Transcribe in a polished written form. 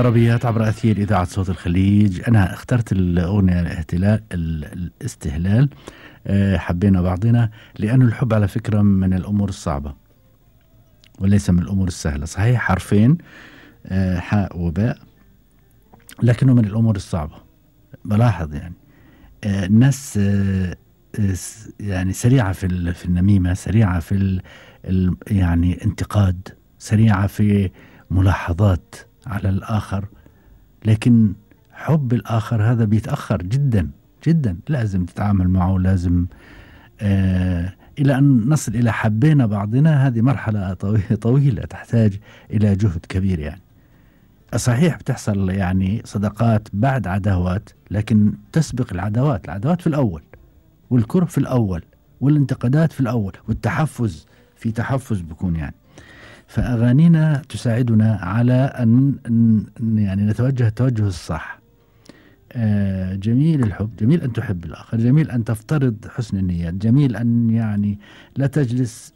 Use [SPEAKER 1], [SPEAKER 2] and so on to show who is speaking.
[SPEAKER 1] طربيات عبر أثير إذاعة صوت الخليج. أنا اخترت الأغنية الاستهلال. حبينا بعضنا، لأن الحب على فكرة من الأمور الصعبة وليس من الأمور السهلة. صحيح حرفين حاء وباء، لكنه من الأمور الصعبة. بلاحظ يعني الناس يعني سريعة في النميمة، سريعة في يعني انتقاد، سريعة في ملاحظات على الآخر، لكن حب الآخر هذا بيتأخر جدا جدا. لازم تتعامل معه، لازم إلى أن نصل إلى حبينا بعضنا. هذه مرحلة طويلة تحتاج إلى جهد كبير يعني. صحيح بتحصل يعني صداقات بعد عداوات، لكن تسبق العداوات في الأول، والكره في الأول، والانتقادات في الأول، والتحفز في تحفز بكون يعني. فأغانينا تساعدنا على أن يعني نتوجه التوجه الصح. جميل الحب، جميل أن تحب الآخر، جميل أن تفترض حسن النيات، جميل أن يعني لا تجلس